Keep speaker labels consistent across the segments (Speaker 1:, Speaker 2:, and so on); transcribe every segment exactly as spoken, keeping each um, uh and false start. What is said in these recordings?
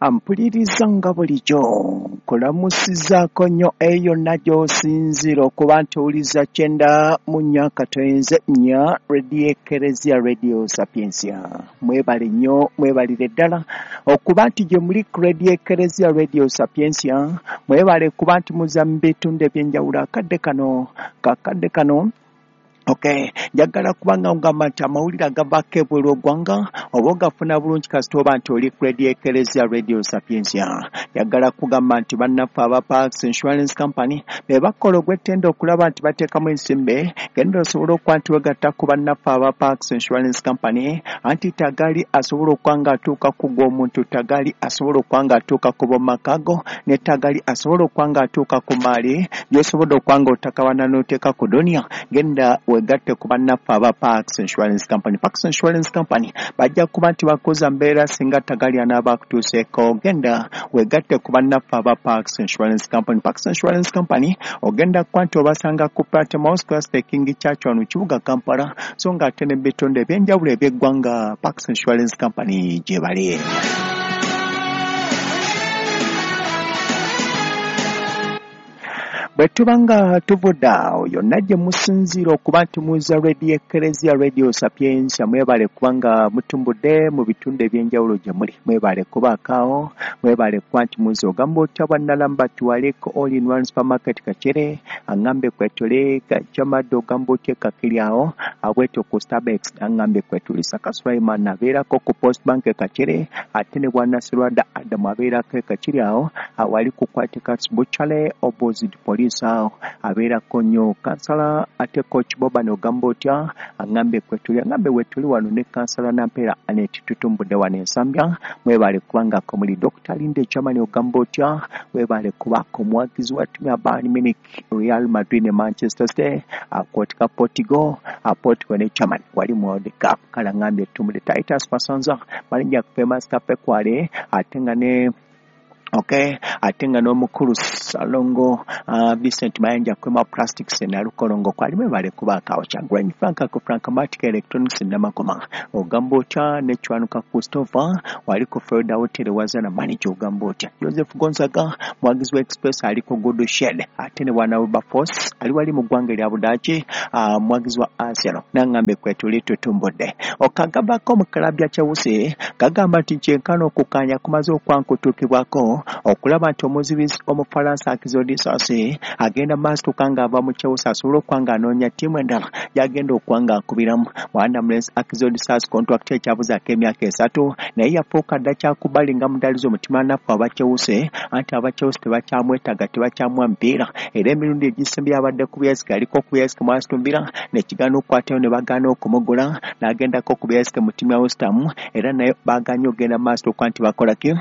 Speaker 1: Ampuliriza nga bulijjo nkulamusizaako nnyo eyo yonna gy'osinziira okuba nti owuliza kyenda mu nnya katoyenze nnya Radio Ekereziya Radio Sapientia. Mwebale nnyo, mwebalire ddala okuba nti gye muli ku Radio Ekereziya Radio Sapientia, mwebale kuba nti muza mu bitundu eby'enjawulo akadde kano kakadde kano. Okay, njagala kubanga ngamba nti amawulire agavaako ebweru eggwanga oba ogafuna bulungi kasita oba nti oli ku Radio Ekereziya Radio Sapientia. Njagala kugamba nti bannaffe aba Parks Insurance Company be bakola ogw'ettendo okulaba nti bateekamu ensimbi, genda osobola okuba nti wegatta ku bannaffe aba Parks Insurance Company, anti tagali asobola okuba nga atuuka ku gw'omuntu, tagali asobola okuba nga atuuka ku b'omu go, ne tagali asobola okuba nga atuuka ku maali gy'osobodde okuba nga otakawana n'oteeka ku duniya. Genda wegatte ku bannaffe aba Parks Insurance Company. Parks Insurance Company bajja kuba nti bakoza mbeera singa tagali anaaba akutuuseeko. Genda wegatte ku bannaffe aba Parks Insurance Company. Parks Insurance Company ogenda kuba nti obasanga ku Patmos Cluster King Church wano mu kibuga Kampala, so ng'ate ne bitundu eby'enjawulo eby'eggwanga Parks Insurance Company gye bali. Bwe tuba nga tuvudde awo yonna gye musinziira okuba nti muza Radio Ekereziya Radio Sapientia, mwebale kubanga mutumbudde mu bitundu eby'enjawulo gye muli, mwebale kubaako awo, mwebale kuba nti muza. Ogamba otya bwannalamba tuwaleko all in one supermarket Kakere, aŋŋambe kwetuli Kajamadde, ogamba otya Kakiri awo abwetyo ku Starbucks, aŋŋambe kwetuli Saka Sulaiman abeerako ku Post Bank Kakere, ate ne Bwanasirwadda Adamu abeerako e Kakiri awo awali ku Kwatikats Butchery opposite police awo abeerako nnyo kansala. Ate Coach Boban ogamba otya, aŋŋambe kwetuli, aŋŋambe wetuli wano ne kansala Nampeera Anet tutumbudde wano Ensambya, mwebale kubanga ko muli. Doctor Linde Germany ogamba otya, webale kubaako omuwagizi wa ttiimu ya Bayern Munich, Real Madrid ne Manchester City, akwotika Portugal, Portugal ne Germany wali mu World Cup. Kale aŋŋambye tumbudde Titus Masanza malinnya famous cafe kwale, ate nga ne okay, ate nga n'omukulu Salongo uh, Vincent Mayanja kwema Plastics na Lukolongo kwali, mwebale kubaako awo. Kyagulanyi Frank ku Frankmatic Electronics Namakoma ogamba otya, ne Chwanuka Christopher wali ku Florida Hotel Wazana manager ogamba otya. Joseph Gonzaga mwagizi wa Express ali ku Good Shed, ate ne Bwana Wilberforce ali wali mu ggwanga erya Budaaki, uh, mwagizi wa Arsenal n'aŋŋambe kwetuli tutumbudde. Okagabako mu club ya Chelsea kagamba nti kyenkana okukkaanya kumaze okwankutuukibwako okulaba nti omuzibizi Omufalansa Axel Disasi agenda maaso nga ava mu Chelsea asobole okuba nga anoonya ttiimu endala gy'agenda okuba nga akubiramu. Mwana mulenzi Axel Disasi contract ekyabuzaako emyaka esatu, naye yafuuka dda kyakubali nga mudalizo omutima naffe aba Chelsea, anti aba Chelsea tebakyamwetaaga, tebakyamuwa mupiira, era emirundi egisembye abadde ku byesike aliko ku byesike mu Aston Villa nekigaana okukwatayo ne bagaana okumugula, n'agendako ku byesike mu ttiimu ya West Ham era naye bagaanye okugenda maaso okuba nti bakola ki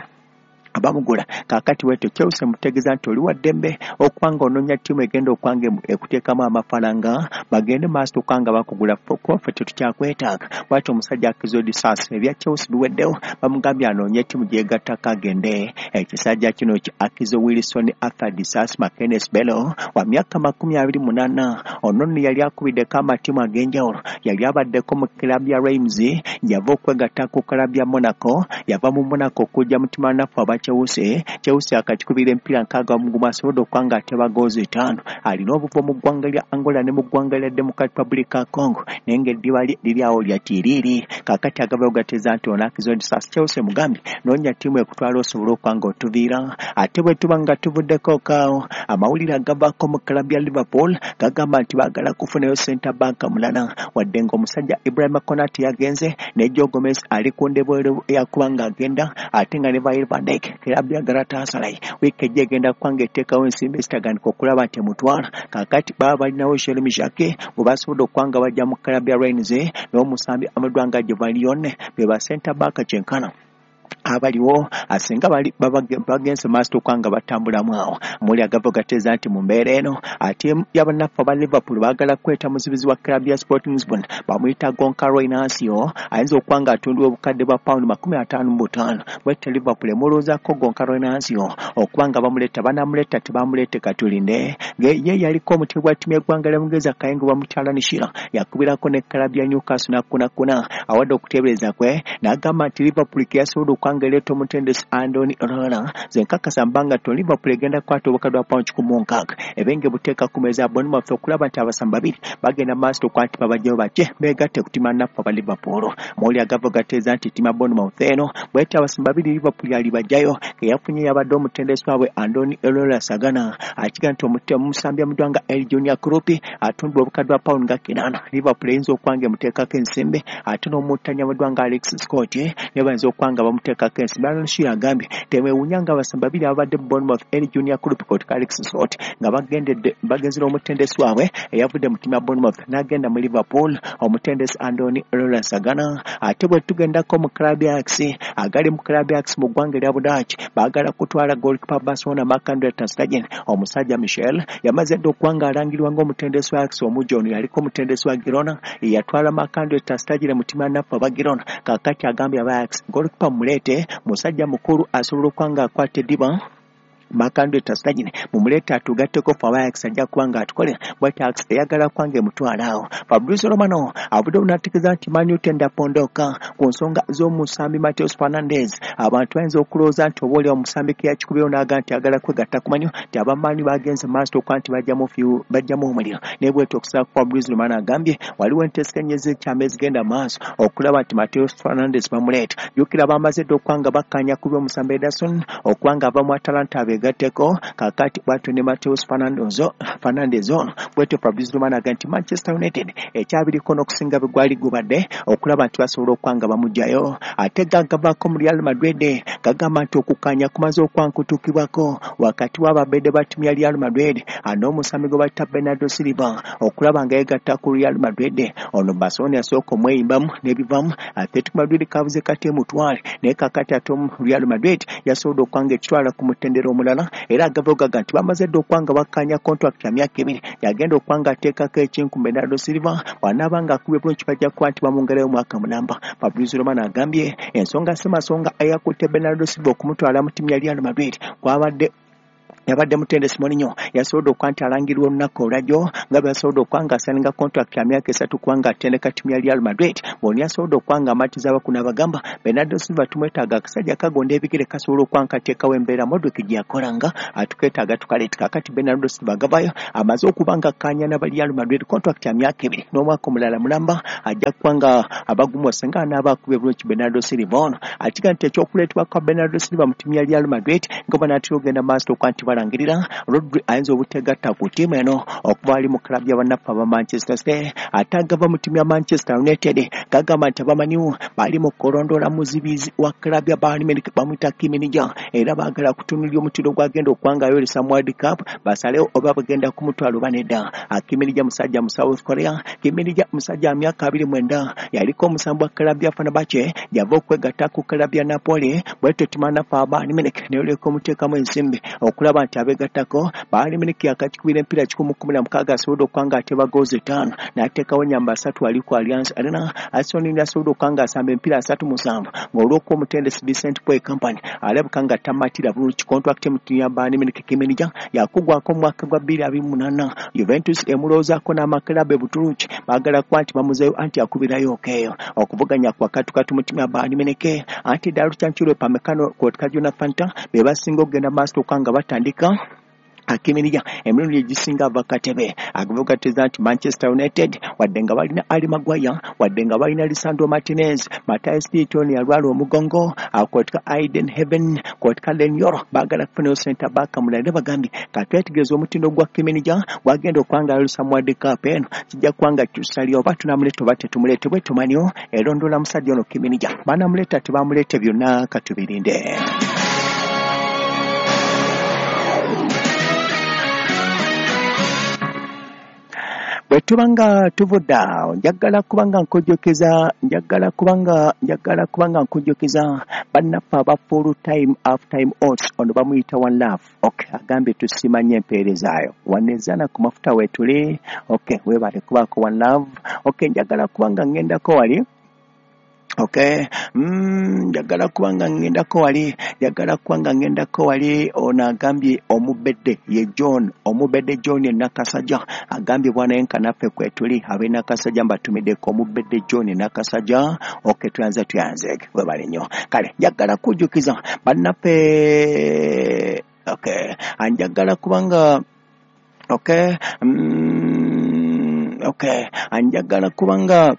Speaker 1: abamugula. Kaakati wetyo Chelsea mutegeeza nti oli wa ddembe okuba nga onoonya ttiimu egenda okuba nga ekuteekamu amafaranga, bagende maaso okuba nga bakugula, kuba ffe tetukyakwetaaga. Bw'atyo omusajja Axel Disasi ebya Chelsea biweddewo, bamugambye anoonye ttiimu gyegattako agende. Ekisajja kino ki Axel Wilson Arthur Disasi Mackenzie Bello wa myaka makumi abiri munaana, ono nno yali akubiddeko amatiimu ag'enjawulo, yali abaddeko mu club ya Reims, yava okwegatta ku club ya Monaco, yava mu Monaco okujja mu ttiimu naffe aba Chelsea. Chelsea akakikubira empiira nkaaga mu gumu asobodde okuba nga ateba goozi etaano. Alina obuvo mu ggwanga lya Angola ne mu ggwanga lya Democratic Republic ya Congo, naye ng'eddiba lye liri awo lya tiiriiri. Kaakati agavayo gateeza nti ono Axel Disasi Chelsea mugambye noonya ttiimu ekutwala osobole okuba nga otuviira. Ate bwe tuba nga tuvuddeko kaawo, amawulire agavaako mu club ya Liverpool gagamba nti baagala kufunayo center back mulala, wadde ng'omusajja Ibrahima Konate yagenze ne Joe Gomez ali ku ndebwero yakuba ng'agenda, ate nga ne Virgil van Dijk club ya Galatasaray wiiki ejja egenda kuba ng'eteekawo ensimbi ezitaganika okulaba nti emutwala. Kaakati baba balinawo Jeremy Jacquet bwe basobodde okuba nga bajja mu club ya Rennes n'omusambi amadwa nga Jovallion be ba center back kyenkana abaliwo asinga bali bagenze maaso okuba nga batambulamu awo. Muli agava gateeza nti mu mbeera eno ate y'abannaffe aba Liverpool baagala kweta muzibizi wa club ya Sporting Lisbon bamuyita Goncalo Inacio, ayinza okuba nga atundibwa obukadde bwa pawundi makumi ataano mu butaano. Bwette Liverpool emulowoozaako Goncalo Inacio okuba nga bamuleeta, banamuleeta tebamuleete katulinde. Ye yaliko omutebi wa ttiimu y'eggwanga lya Bungereza Kayingo bamutyala Nishira, yakubirako ne club ya Newcastle n'akunakuna awadde okuteebereza kwe n'agamba nti Liverpool ke yasobodde okwanga ereeta omutendesi Andoni Iraola. Nze nkakasa mbanga to Liverpool egenda kukwata obukadde bwa pawundi kikumi mu nkaaga ebenge buteeka ku mmeeza ya Bournemouth okulaba nti abasambi babiri bagenda maaso okuba nti babajjayo bajje beegatte ku ttiimu naffe aba Liverpool. Mawulire agava gateeza nti ttiimu ya Bournemouth eno bw'etyo abasambi babiri Liverpool yalibajjayo ke yafunye yabadde omutendesi waabwe Andoni Iraola Sagana akiga nti omusambi amuddwa nga El Junior Kroupi atundibwa obukadde bwa pawundi nga kinaana. Liverpool eyinza okuba nga emuteekako ensimbi ate n'omuttanyi amuddwa nga Alex Scott naye bayinza okuba nga bamuteekako ensimbi. Alan Shearer agambye temwewuunya nga abasambi babiri ababadde mu Bournemouth, El Junior Kroupi kwoteeka Alex Scott, nga bagendedde bagenze n'omutendesi waabwe eyavudde mu ttiimu ya Bournemouth n'agenda mu Liverpool, omutendesi Andoni Iraola Sagana. Ate bwe tugendako mu club ya Ajax, agali mu club ya Ajax mu ggwanga erya Budaaki baagala kutwala goalkeeper Barcelona Marc-Andre ter Stegen. Omusajja Michel yamaze dda okuba nga alangirwa ng'omutendesi wa Ajax omujja. Ono yaliko omutendesi wa Girona, yatwala Marc-Andre ter Stegen mu ttiimu ya naffe aba Girona. Kaakati agambye aba Ajax, goalkeeper muleete, musajja mukulu asobola okuba nga akwata eddiba. Marc-Andre ter Stegen mumuleete atugatteko ffe aba Ajax, ajja kuba nga atukolera bw'ati. Ajax eyagala kuba nga emutwala awo. Fabrizio Romano avudde n'ategeeza nti Man U tenda pondoka ku nsonga z'omusambi Mateus Fernandes. Abantu bayinza okulowooza nti oba oli omusambi ke yakikubyewo n'aga nti ayagala kwegatta ku Man U, nti aba Man U bagenze maaso okuba nti bajjamu bajjamu omuliro, naye bwetyo okusinziira ku Fabrizio Romano agambye waliwo enteeseganya ez'ekyama ezigenda maaso okulaba nti Mateus Fernandes bamuleeta. Jjukira bamaze dda okuba nga bakkaanya ku by'omusambi Ederson okuba nga ava mu Atalanta abeegatteko. Kaakati bwatyo ne Mateus Fernandes ono bwetyo Fabrizio Romano agambye nti Manchester United ekyabiriko n'okusinga bwe gwali gubadde okulaba nti basobola okuba nga bamuggyayo. Ate gagavaako mu Real Madrid gagamba nti okukkaanya kumaze okuba nkutuukibwako wakati w'ababedde ba ttiimu ya Real Madrid n'omusambi gwe bayita Bernardo Silva okulaba nga yeegatta ku Real Madrid. Ono Barcelona yasooka omweyimbamu n'ebivamu, Atletico Madrid kabuze kati emutwale, naye kaakati ate Real Madrid yasobodde okuba nga ekitwala ku mutendera omulala. Era agava gaga nti bamaze dda okuba nga bakkaanya contract ya myaka ebiri yagenda okuba nga ateekako ekinku Bernardo Silva. Bw'anaaba ng'akubye bulungi bajja kuba nti bamwongerayo omwaka mulamba. Fabrizio Romano agambye ensonga si masonga eyakutte Bernardo Silva okumutwala mu ttiimu ya Real Madrid kwabadde yabadde mutendesi Mourinho yasobodde okuba nti alangirwa olunaku olwajjo nga bwe yasobodde okuba nga asaninga contract ya myaka esatu kuba nga atendeka ttiimu ya Real Madrid. Bw'ono yasobodde okuba nga amatiza abakuno abagamba Bernardo Silva tumwetaaga, akasajja kagonda ebigere kasobola okuba nga kateekawo embeera Modric gye yakolanga, atuketaaga tukaleeta. Kaakati Bernardo Silva agavayo amaze okuba nga akkaanya n'aba Real Madrid contract ya myaka ebiri n'omwaka omulala mulamba ajja kuba nga abagumu singa anaaba akubye bulungi Bernardo Silva ono. Akiga nti ekyokuleetebwa kwa Bernardo Silva mu ttiimu ya Real Madrid nga banaatera okugenda maaso okuba nti balangirira Rodri ayinza obutegatta ku ttiimu eno okuva ali mu club y'abannaffe aba Manchester City. Ate agava mu ttiimu ya Manchester United gagamba nti aba Man U bali mu kulondoola muzibizi wa club ya Bayern Munich bamuyita Kim Min-jae, era baagala kutunuulira omutindo gwagenda okuba nga ayolesa mu World Cup basalewo oba bagenda kumutwala oba nedda. Kim Min-jae musajja mu South Korea. Kim Min-jae musajja wa myaka abiri mwenda, yaliko omusambi wa club ya Fenerbahce, yava okwegatta ku club ya Napoli. Bwetyo ttiimu naffe aba Bayern Munich neyoleka omuteekamu ensimbi okulaba nti abeegattako. Bayern Munich yakakikubira empiira kikumi kumi na mukaaga asobodde okuba nga ateba goozi ttaano n'ateekawo nyamba asatu ali ku Allianz Arena. Arsenal yasobodde okuba nga asamba empiira asatu musanvu ng'olw'okuba omutendesi Vincent Boy Kompany alabika nga tamatira bulungi contract mu ttiimu ya Bayern Munich. Kim Min-jae yakugwako mu mwaka gwa bbiri abiri mu munaana. Juventus emulowoozaako n'amakalabu e Buturuki baagala kuba nti bamuzeeyo anti akubirayo okeeyo okuvuganya kwa katukatu mu ttiimu ya Bayern Munich. Anti ddala Luchancilo Upamecano kwotka Jonathan Tah be basinga okugenda maaso okuba nga batandika. Kim Min-jae emirundi egisinga ava katebe. Agavugateza nti Manchester United wadde nga balina Harry Maguire, wadde nga balina Lisandro Martinez, Matthijs de Ligt yalwala omugongo, kwotka Ayden Heaven, kwotka Leny Yoro, baagala kufunayo center back mulala. Bagambye katwetegereza omutindo gwa Kim Min-jae gwagenda okuba nga ayolesa mu World Cup eno, kijja kuba nga tusalya oba tunamuleeta oba tetumuleete. Bwe tumanyo erondoola musajja ono Kim Min-jae, banamuleeta tebamuleete, byonna katubirinde. Bwe tuba nga tuvudde awo, njagala kuba nga nkujjukiza njagala kuba nga njagala kuba nga nkujjukiza bannaffe aba Full Time Half Time Oats. Ono bamuyita One Love. Okay, agambye tusiima nnyo empeerezaayo wanezaana ku mafuta weetuli. Okay, weebale kubaako One Love. Okay, njagala kuba nga ŋŋendako wali. Okay, mm, njagala kubanga ngendako wali, njagala kubanga ngendako wali. Ono agambye omubedde ye John, omubedde John e Nakasajja agambye bwana enka naffe kwetuli ab'e Nakasajja mbatumiddeko omubedde John e Nakasajja. Okay, tuyanze tuyanze webale nnyo. Kale njagala kujjukiza bannaffe. Okay, anjagala kubanga okay, mm, okay, anjagala kubanga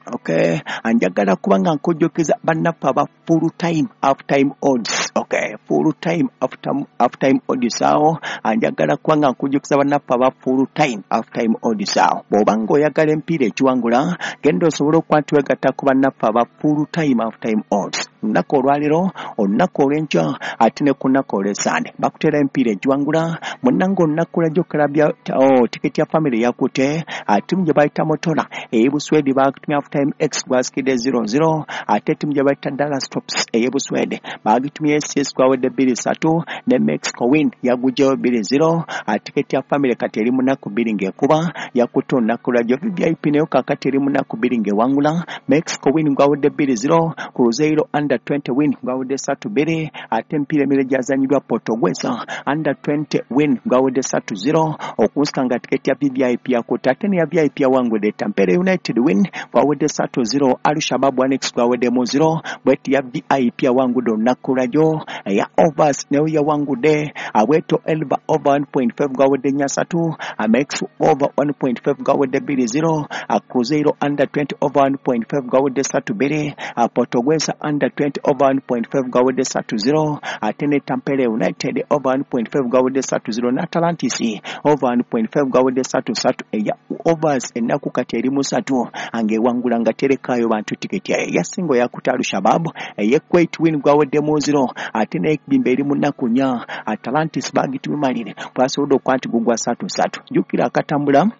Speaker 1: okay, anjagala kubanga nkujjukiza bannaffe aba full time half time odds. Okay, full time half time half time odds awo. Anjagala kubanga nkujjukiza bannaffe aba full time half time odds awo. Bw'obanga oyagala empiira ekiwangula, genda osobole okuba nti weegatta ku bannaffe aba full time half time odds. Olunaku olwaleero, olunaku olw'enkya, ate ne ku lunaku olw'essande bakuteera empiira egiwangula. Munnange olunaku lwajjo club oh, tiketi ya family yakutte ttiimu gye bayita Motola ey'e Buswedi bagitumye half time x gwasikidde zero zero, ate ttiimu gye bayita Dallas Tops ey'e Buswede bagitumye S S gwawedde bbiri ssatu, ne Mexico win yagugyeyo bbiri zero. Tiketi ya family kati eri mu nnaku bbiri ng'ekuba yakutte olunaku lwajjo. V I P nayo kaakati eri mu nnaku bbiri ng'ewangula. Mexico win gwawedde bbiri zero, Cruzeiro under twenty win gwawedde ssatu bbiri, ate emipiira emirala gyazanyiddwa Portuguesa under twenty win gwawedde ssatu zero, okunsika nga tiketi ya V I P yakutte. Ate neya V I P yawangudde Tampere United win gwawedde ssatu zero, Al Shabab one x gwaweddemu zero. Bweti ya V I P yawangudde olunaku lwajjo. Eya overs nayo yawangudde Abweto Elba over one point five gwawedde nnya ssatu, Amex over one point five gwawedde bbiri zero, Cruzeiro under twenty over one point five gwawedde ssatu bbiri, Portuguesa under twenty over one point five gwawedde ssatu zero, ate ne Tampere United over one point five gwawedde ssatu zero, ne Atlantis over one point five gwawedde ssatu ssatu. Eya overs ennaku kati eri mu ssatu ang'ewangula nga terekayo bantu tiketi yayo. Eyasinga yakutte Al Shabab ey'e Kuwait win gwaweddemu zero, ate n'ekibimba eri mu nnaku nnya Atlantis bagitumimalire bwasobodde okuba nti gugwa ssatu ssatu. Jjukira akatambula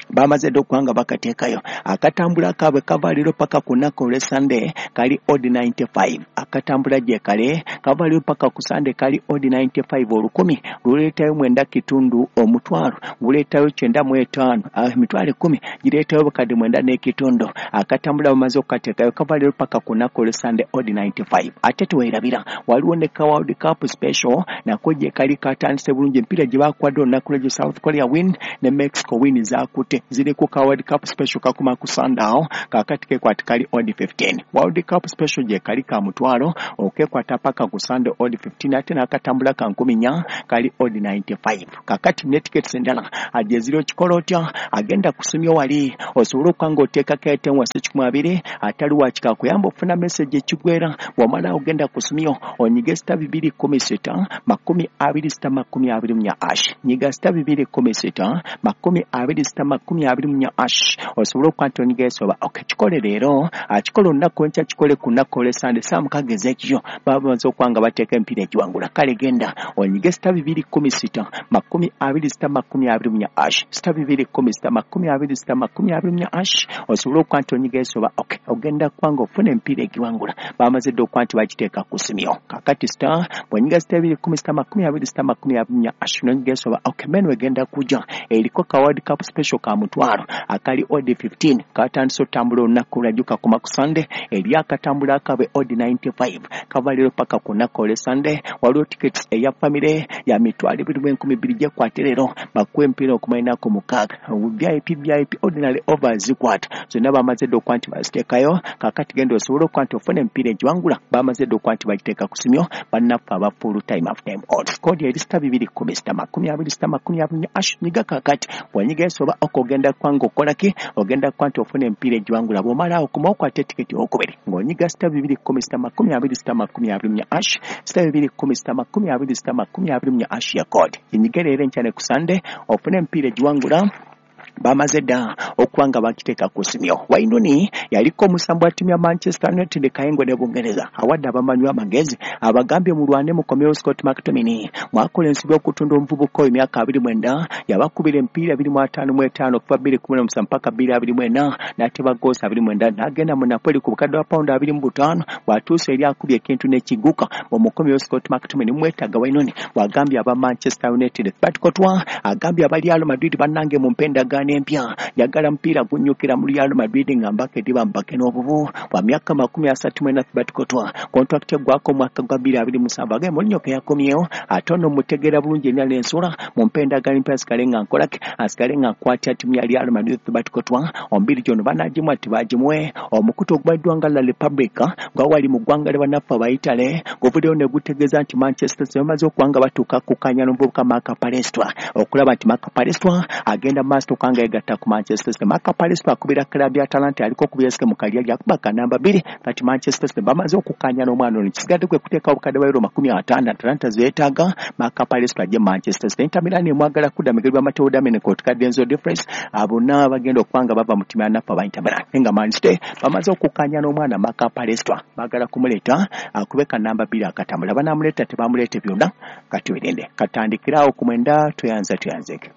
Speaker 1: bamaze dda okuba nga bakateekayo akatambula kaabwe kava leero paka ku nnaku olw'essande kali odd ninety-five. Akatambula gye kale kava leero paka ku Sande kali odd ninety-five. Olukumi luleetayo mwenda kitundu, omutwalo guleetayo kyenda mu etaano, emitwalo ekkumi gireetayo obukadde mwenda n'ekitundu. Akatambula bamaze okukateekayo kava leero paka ku nnaku olw'essande odd ninety-five. Ate teweerabira waliwo ne ka World Cup special nako gye kali katandise bulungi emipiira gye baakwadde olunaku lw'egyo South Korea win ne Mexico win zaakutte ziri ku ka World Cup special kakuma ku Sunday kakati kekwata kali odd fifteen. World Cup special gye kali ka mutwalo okekwata paka ku Sunday odd fifteen, ate n'akatambula ka nkumi nnya kali odd ninety-five. Kakati ne tickets endala gye ziri okikola otya, agenda kusumya wali osobole okuba ng'oteekako ete wasi kikumi abiri atali wakika kuyamba okufuna message ekigwera. Bw'omala ogenda kusumya onyige sita bibiri kkumi sita makumi abiri sita makumi abiri mu nnya ash, nyiga sita bibiri kkumi sita makumi abiri sita makumi abiri mu nnya ash osobola okuba nti onyiga esoba. Okay, kikole leero, akikola olunaku enkya, kikole ku nnaku olw'essande saa mukaaga ez'ekiro baba bamaze okuba nga bateeka emipiira egiwangula. Kale genda onyige sita bibiri kkumi sita makumi abiri sita makumi abiri mu nnya ash, sita bibiri kkumi sita makumi abiri sita makumi abiri mu nnya ash osobola okuba nti onyiga esoba. Okay, ogenda kuba nga ofuna emipiira egiwangula bamaze dda okuba nti bagiteeka ku simyo. Kakati sita bw'onyiga sita bibiri kkumi sita makumi abiri sita makumi abiri mu nnya ash n'onyiga esoba. Okay, menu egenda kujja eriko ka World Cup special ka mutwalo akali odd fifteen katandise otambula olunaku lwajjo kakoma ku Sunday eri akatambula akaabwe odd ninety-five kava leero paka ku nnaku olw'essande. Waliwo tickets eya family ya mitwalo ebiri mu enkumi bbiri gyekwate leero bakuwa emipiira okumala ennaku mukaaga. V I P V I P ordinary overs zikwata zonna bamaze dda okuba nti baziteekayo. Kaakati genda osobole okuba nti ofuna emipiira egiwangula bamaze dda okuba nti bagiteeka ku simyo bannaffe aba full time half time odds. Kodi eri sita bibiri kkumi sita makumi abiri sita makumi abiri nnya ash. Nyiga kaakati bw'onyiga esoba okugenda kwanga okola ki, ogenda kuba nti ofuna emipiira egiwangula. Bw'omala okuma okwata etiketi ey'okubiri ng'onyiga sita bibiri kkumi sita makumi abiri sita makumi abiri mu nnya ash, sita bibiri kkumi sita makumi abiri sita makumi abiri mu nnya ash ya kodi. Ginyige leero enkya ne ku Sande ofune emipiira egiwangula bamaze dda okuba nga bakiteeka ku simyo. Wayne yaliko omusambi wa ttiimu ya Manchester United Kayengo ne Bungereza awadde abamanywa amagezi abagambye mulwane mukomyewo Scott McTominay mwakola ensobi okutunda omuvubuka oyo emyaka abiri mwenda yabakubira emipiira abiri mu ataano mu etaano okuva bbiri kumi na musanvu mpaka bbiri abiri mu ena n'ateba goosi abiri mwenda n'agenda mu Napoli ku bukadde bwa pawundi abiri mu butaano bw'atuuse eri akubye ekintu n'ekiguka omukomyewo Scott McTominay mwetaaga. Wayne bw'agambye aba Manchester United. Batikotwa agambye aba Real Madrid bannange mu mpendagaano endagaano empya. Njagala mupiira gunnyukira mu Real Madrid nga mbaka ediba mbake n'obubu bwa myaka makumi asatu mu ena Thibaut Courtois contract eggwako omwaka gwa bbiri abiri musanvu age Mourinho ke yakomyewo ate ono mutegeera bulungi ennyo n'ensula mumpe endagaano empya asigale nga nkolaki asigale nga nkwatya ttiimu ya Real Madrid. Thibaut Courtois ombiri gyono banaagimuwa tibagimuwe. Omukutu ogumanyiddwa nga La Repubblica nga wali mu ggwanga lya bannaffe Abayitale guvuddeyo ne gutegeeza nti Manchester City bamaze okuba nga batuuka kukkaanya n'omuvubuka Marc Palestra okulaba nti Marc Palestra agenda mu maaso okuba nga yeegatta ku Manchester City. Marc Palestra akubira club ya Atalanta aliko okubira esike mu kalya lyakuba ka namba bbiri. Kati Manchester City bamaze okukkaanya n'omwana ono, kisigadde kwe kuteekawo obukadde bwa euro makumi ataano Atalanta zeetaaga Marc Palestra ajje Manchester City. Inter Milan emwagala kudda migeri bwa Matteo Darmian kwotuka Denzel Dumfries bonna bagenda okuba nga bava mu ttiimu ya naffe aba Inter Milan. Nga Man City bamaze okukkaanya n'omwana Marc Palestra baagala kumuleeta akube ka namba bbiri akatambula banaamuleeta tebamuleete byonna kati werinde katandikirawo ku mwenda tweyanza tweyanzeke.